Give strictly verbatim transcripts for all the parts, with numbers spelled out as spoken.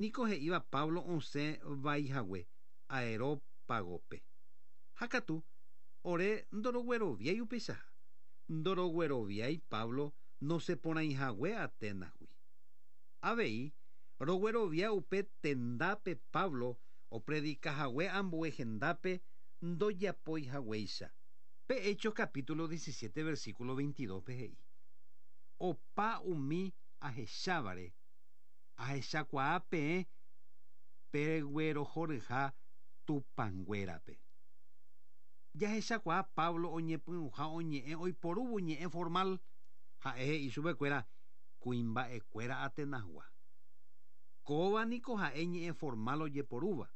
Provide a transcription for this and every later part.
Niko he'íva Pablo osẽ vaihague Areópagope. Ha katu ore ndorogueroviái upeichaha. Ndorogueroviái Pablo nosẽporãihague Atenasgui. Avei roguerovia upe tendápe Pablo opredikahague ambue hendápe ndojapoihaguéicha. Pe Hechos capítulo diecisiete versículo veintidós pe he'i. Opa umi ahechávare ahechakuaa peẽ peguerohoryha tupãnguérape. Jahechakuaa Pablo oñepyrũha oñe'ẽ oiporúvo ñe'ẽ formal ha'e he'i chupekuéra kuimba'ekuéra Atenasgua. Kóva niko ha'e ñe'ẽ formal ojeporúva.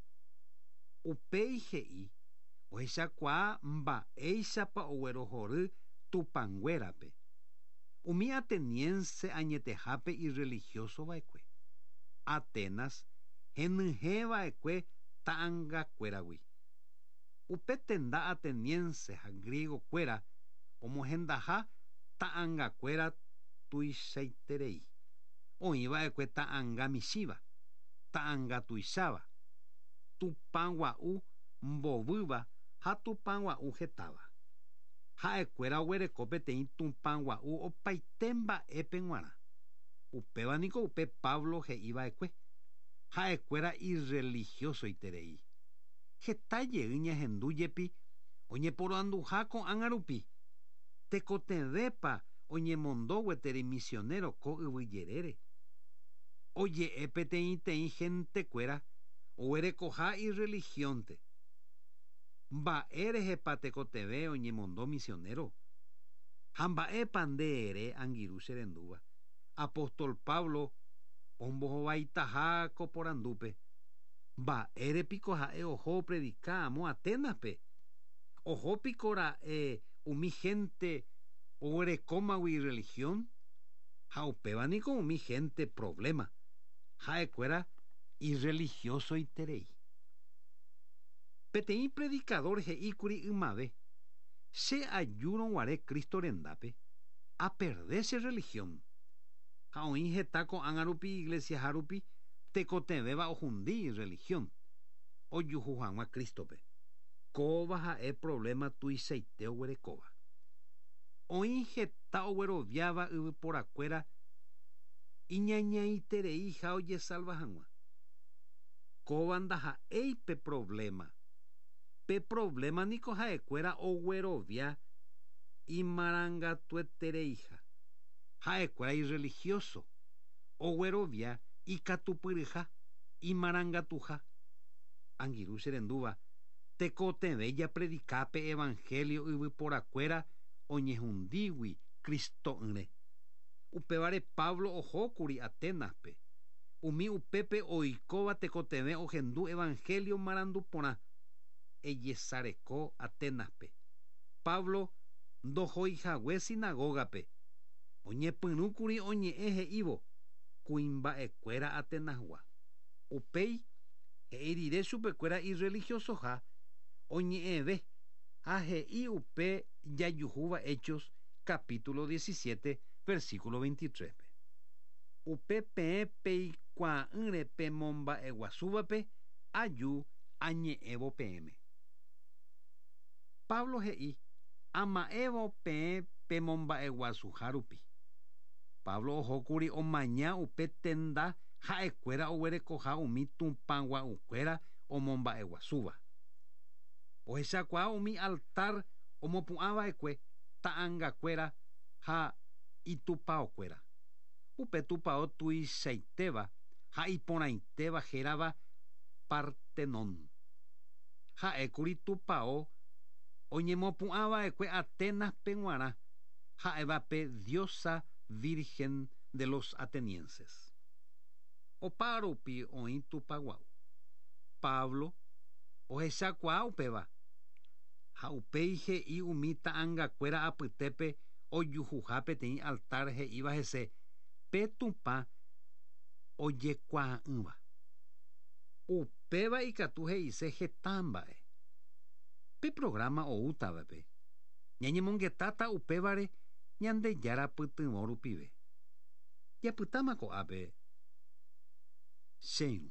Upéi he'i ohechakuaa mba'éichapa oguerohory tupãnguérape. Umi ateniense añetehápe ireligiosova'ekue. Atenas henyhẽva'ekue ta'angakuéragui. Upe tenda ateniense ha griegokuéra omohendaha ta'angakuéra tuichaiterei. Oĩva'ekue ta'anga michĩva, ta'anga tuicháva, tupãgua'u mbovýva ha tupãgua'u hetáva. Ha'ekuéra oguereko peteĩ tupãgua'u opaite mba'épe g̃uarã. Upéva niko upe Pablo he'iva'ekue. Ha'ekuéra irreligiosoiterei. Heta jey ñahendu jepi oñeporanduha ko'ág̃a rupi. Tekotevẽpa oñemondo gueteri misionero ko yvyjerére. Oje'e peteĩteĩ gentekuéra oguerekoha irreligionte. Mba'érehepa tekotevẽ oñemondo misionero. Ha mba'épa nde ere angirũ che rendúva. Apóstol Pablo ombohovaitaha ko porandúpe. Mba'érepiko ha'e oho opredika amo Atenaspe. Ohópiko ra'e umi gente oguerekómagui religión. Ha upéva niko umi gente problema. Ha'ekuéra irreligiosoiterei. Peteĩ predicador he'íkuri ymave. Che ajúrõguare Cristo rendápe aperde che religión. Ha oĩ heta ko'ág̃a rupi iglesia rupi tekotevẽva ohundi religión. Ojuhu hag̃ua Cristope. Kóva ha'e problema tuichaite oguerekóva. Oĩ heta ogueroviáva yvyporakuéra iñañaiterei ha ojesalva hag̃ua. Kóva ndaha'éi pe problema. Pe problema niko ha'ekuéra oguerovia imarangatuetereiha. Ha'ekuéra irreligioso. Oguerovia ikatupyryha, imarangatuha. Angirũ che rendúva, tekotevẽ japredika pe evangelio yvyporakuéra oñehundígui Cristo'ỹre. Upévare Pablo ohókuri Atenaspe. Umi upépe oikóva tekotevẽ ohendu evangelio marandu porã. Ejesareko Atenaspe. Pablo ndohoihague sinagogape. Oñepyrũkuri oñe'ẽ he'ívo kuimba'ekuéra Atenasgua. Upéi he'i rire chupekuéra irreligiosoha oñe'ẽve ha he'i upe jajuhúva Hechos capítulo diecisiete versículo veintitrés. Upe peẽ peikuaa'ỹre pemomba'eguasúvape aju añe'ẽvo peẽme. Pablo he'i ama'ẽvo peẽ pemomba'eguasuha rupi. Pablo ohókuri omaña upe tenda ha'ekuéra oguerekoha umi tupãgua'ukuéra omomba'eguasúva. Ohechakuaa umi altar omopu'ãva'ekue ta'angakuéra ha itupãokuéra. Upe tupão tuichaitéva ha iporãitéva hérava Partenón. Ha'ékuri tupão oñemopu'ãva'ekue Atenaspe g̃uarã ha'éva pe diosa virgen de los atenienses. Opa rupi oĩ tupãgua'u. Pablo ohechakuaa upéva ha upéi he'i umi ta'angakuéra apytépe ojuhuha peteĩ altar he'íva hese pe Tupã ojekuaa'ỹva. Upéva ikatu he'ise heta mba'e. Pe programa oútavape ñañemongetáta upévare Ñandejára pytyvõ rupive. Japytáma ko'ápe. Che irũ.